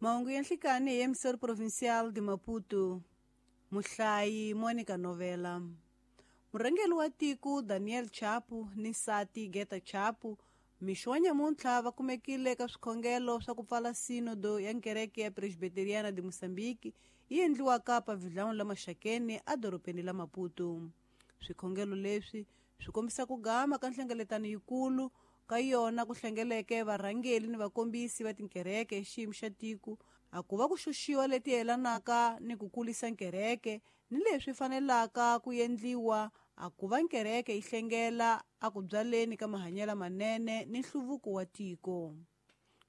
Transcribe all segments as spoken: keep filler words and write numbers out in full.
Mahungu ya nhlikani hi Emissor Provincial de Maputo. Muhlayi Monica Novela. Murhangeri wa tiko Daniel Chapo ni nsati Geta Chapo mixo wa nyamuntlha va kumekile eka swikhongelo swa ku pfala sinodo ya nkereke ya Presbiteriana de Mozambique yi endliwaka pavilhão la Maxakeni edorobeni la Maputo. Swikhongelo leswi swi kombisa ku gama ka nhlengeletano yikulu ka yona ku hlengeleke varhangeli ni vakombisi va tinkereke xiyimo xa tiko a ku va ku xuxiwa leti yelanaka ni ku kulisa nkereke ni leswi fanelaka ku endliwa a ku va nkereke yi hlengela a ku byaleni ka mahanyelo manene ni nhluvuko wa tiko.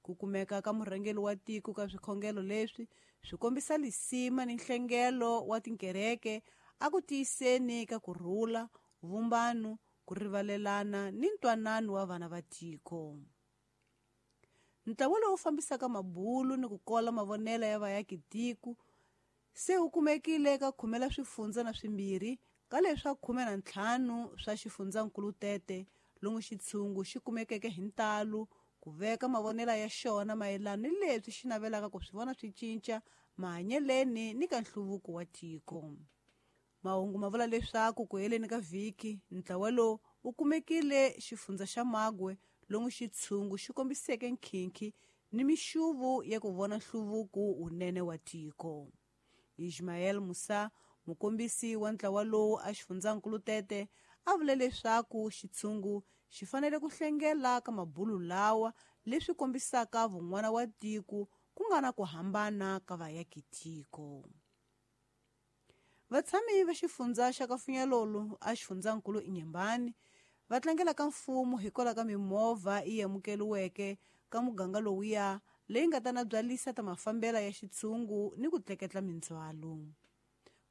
Ku kumeka ka murhangeri wa tiko ka swikhongelo leswi swi kombisa lisima ni nhlengelo wa tinkereke a ku tiyiseni ka kurhula, vumbano, ku rivalelana ni ntwanano wa vana va tiko. Ntlawa lowu fambisaka mabulu ni ku kola mavonelo ya vaaki tiko se wu kumekile eka khume la swifundza na swimbirhi ka leswa khume na ntlhanu swa xifundzankulu Tete, lomu xitshungu xi kumekeke hi ntalo ku veka mavonelo ya xona mayelana ni leswi xi navelaka ku swi vona swi cinca mahanyeleni ni ka nhluvuko wa tiko. Mahungu ma vula leswaku ku heleni ka vhiki ntlawa lowu wu kumekile xifundza xa Magwe lomu xitshungu xi kombiseke nkhinkhi ni mixuvu ya ku vona nhluvuko wunene wa tiko. Ismael Musa, mukombisi wa ntlawa lowu a xifundzankulu Tete, a vule leswaku xitshungu xi fanele ku hlengela ka mabulu lawa leswi kombisaka vun'wana wa tiko ku nga na ku hambana ka vaaki tiko. Vatshami va xifundza xa Kafunyalolo a xifundzankulu Inyembani va tlangela ka mfumo hikwalaho ka mimovha yi amukeriweke ka muganga lowuya leyi nga ta na byalisa ta mafambela ya xitshungu ni ku tleketla mindzhwalo.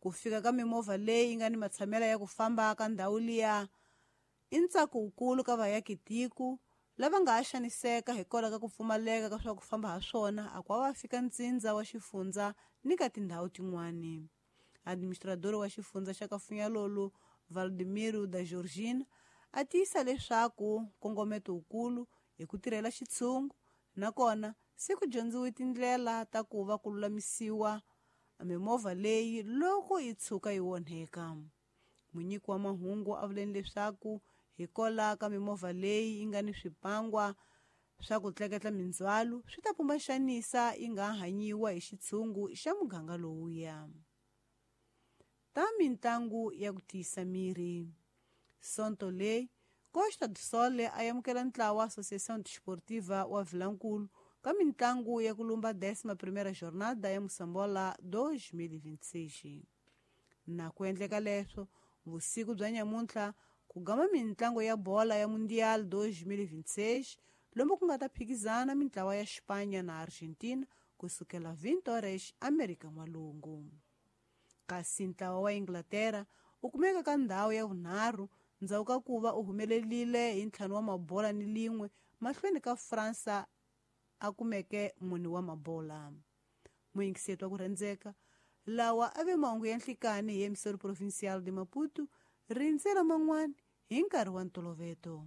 Ku fika ka mimovha leyi nga ni matshamela ya ku famba ka ndhawu liya i ntsako wukulu ka vaaki tiko lava nga ha xaniseka hikwalaho ka ku pfumaleka ka swa ku famba ha swona a ku va fika ntsindza wa xifundza ni ka tindhawu tin'wani. Administrador wa xifundza xa Kafunyalolo Valdemiro da Georgina a tiyisa leswaku nkongometo wukulu hi ku tirhela xitshungu nakona se ku dyondziwe tindlela ta ku va ku lulamisiwa mimovha leyi loko yi tshuka yi onheka. Munyiki wa mahungu a vuleni leswaku hikwalaho ka mimovha leyi yi nga ni swipangwa swa ku tleketla mindzhwalo swi ta pumba xanisa yi nga hanyiwa hi xitshungu xa muganga lowuya. Ta mintlangu ya ku tiyisa miri. Sonto leyi Costa do Sol a amukela ntlawa Associação Desportiva wa Vilankulu ka mintlangu ya ku lumba décima primeira jornada ya Moçambola dois mil e vinte e seis. Na ku endleka leswo vusiku bya nyamuntlha ku gama mintlangu ya bola ya Mundial dois mil e vinte e seis lomu ku nga ta phikizana mintlawa ya Espanha na Argentina kusukela vinte horas Amerika N'walungu. Kasi ntlawa wa Inglaterra wu kumeka ka ndhawu ya vunharhu ndzhaku ka ku va u humelerile hi ntlhanu wa mabola ni lin'we mahlweni ka Fransa a kumeke mune wa mabola. Muyingiseti wa ku rhandzeka lawa a ve mahungu ya nhlikani hi Emissor Provincial de Maputo rindzela man'wana hi nkarhi wa ntoloveto.